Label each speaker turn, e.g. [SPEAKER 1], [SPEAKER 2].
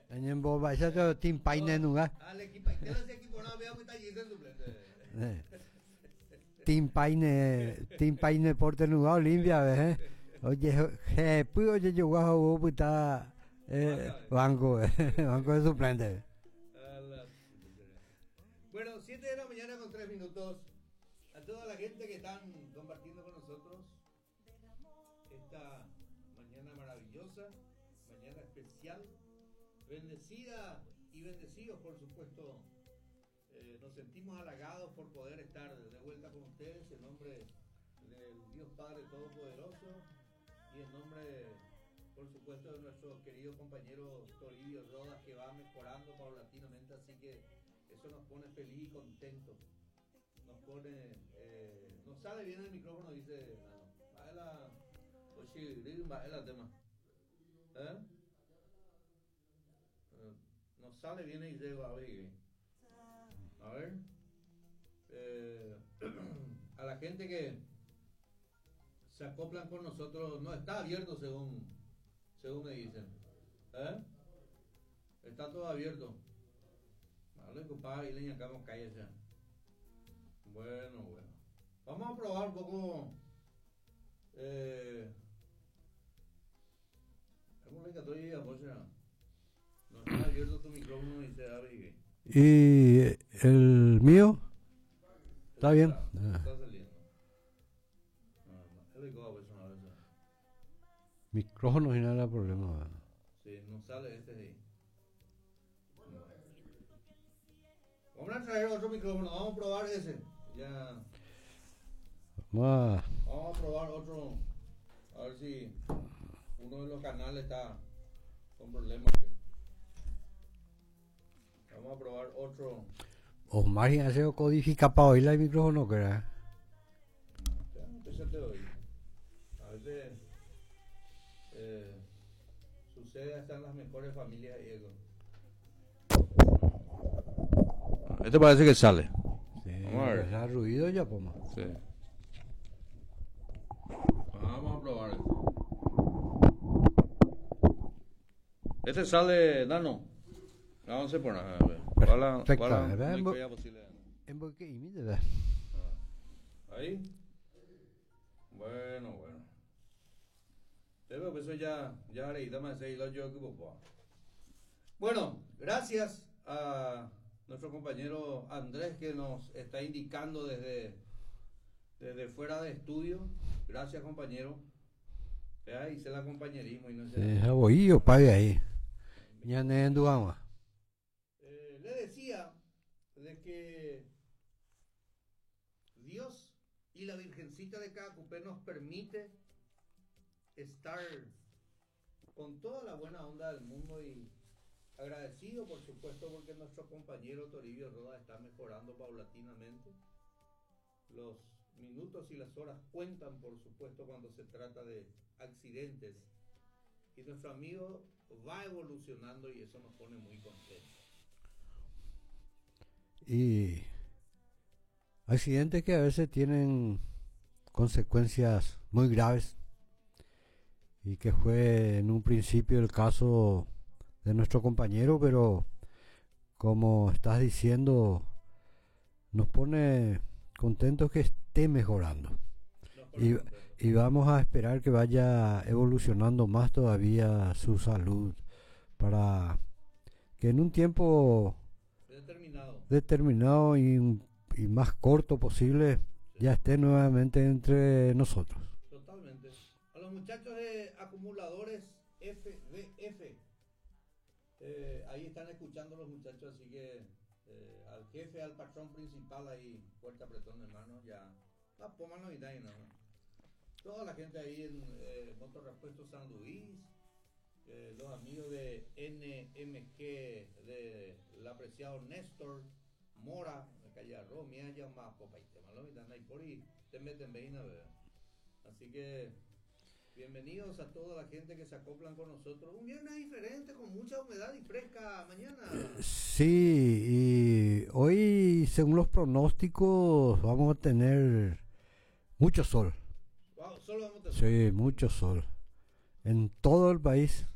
[SPEAKER 1] Añembomba'éicha Team Paine nunga. Team Paine, Team Paine Porte nunga Olimpia ve, eh. Oje hepy ojejogua ho'u opyta eh, banco, banco de suplente.
[SPEAKER 2] Bueno, 7 de la mañana con 3 minutos. A toda la gente que están compartiendo con nosotros esta mañana maravillosa, mañana especial, bendecida y bendecidos, por supuesto. Eh, nos sentimos halagados por poder estar de vuelta con ustedes en nombre del Dios Padre Todopoderoso y en nombre, por supuesto, de nuestro querido compañero Toribio Rodas, que va mejorando paulatinamente, así que eso nos pone feliz y contento. Nos pone, eh, no sale bien el micrófono, dice, ah, la, oye, va tema. ¿Eh? ¿Eh? No sale bien y llega a ver. A ver. Eh, a la gente que se acoplan con nosotros, no está abierto según, según me dicen. ¿Eh? Está todo abierto. Vale, compadre, y le acá cállese. Bueno, bueno. Vamos a probar un poco. Eh, no está abierto tu micrófono y se abre.
[SPEAKER 1] ¿Y el mío? ¿Está bien?
[SPEAKER 2] Está saliendo.
[SPEAKER 1] Micrófono sin nada problema.
[SPEAKER 2] Sí, no sale este ahí. Vamos a traer otro micrófono, vamos a probar ese. Ya.
[SPEAKER 1] Vamos
[SPEAKER 2] a probar otro. A ver si uno de los canales está con problemas. Vamos a probar otro.
[SPEAKER 1] Osmar hace codifica para oír el micrófono, que era.
[SPEAKER 2] Ya, te oí. A veces eh, sucede hasta en las mejores familias y eso. Este parece que sale.
[SPEAKER 1] Sí, Vamos a ver. Hace ruido ya, poma.
[SPEAKER 2] Sí. Vamos a probar este. Este sale, Nano. Vamos a poner.
[SPEAKER 1] Perfecto.
[SPEAKER 2] Ahí. Bueno, bueno. Eso ya, ya Bueno, gracias a nuestro compañero Andrés que nos está indicando desde, desde fuera de estudio. Gracias, compañero. Ahí se la compañerismo y no
[SPEAKER 1] se. Sí, pague ahí. Ya
[SPEAKER 2] Le decía de que Dios y la Virgencita de Caacupé nos permite estar con toda la buena onda del mundo y agradecido, por supuesto, porque nuestro compañero Toribio Roda está mejorando paulatinamente. Los minutos y las horas cuentan, por supuesto, cuando se trata de accidentes. Y nuestro amigo va evolucionando y eso nos pone muy contentos.
[SPEAKER 1] Y accidentes que a veces tienen consecuencias muy graves y que fue en un principio el caso de nuestro compañero, pero como estás diciendo, nos pone contentos que esté mejorando. Y, y vamos a esperar que vaya evolucionando más todavía su salud para que en un tiempo
[SPEAKER 2] determinado,
[SPEAKER 1] determinado y, y más corto posible ya esté nuevamente entre nosotros.
[SPEAKER 2] Totalmente. A los muchachos de acumuladores FDF, ahí están escuchando los muchachos, así que al jefe, al patrón principal ahí, fuerte apretón de mano, ya. La poma no y no. Toda la gente ahí en eh, Motorrepuesto San Luis, los amigos de NMG, del apreciado Néstor Mora, de calle Romia, ya más popa y tema, lo ahí por ahí, te meten ¿verdad? Así que bienvenidos a toda la gente que se acoplan con nosotros. Un viernes diferente, con mucha humedad y fresca mañana.
[SPEAKER 1] Sí, y hoy, según los pronósticos, vamos a tener mucho sol.
[SPEAKER 2] Wow, solo vamos a
[SPEAKER 1] tener. Sí, mucho sol. En todo el país.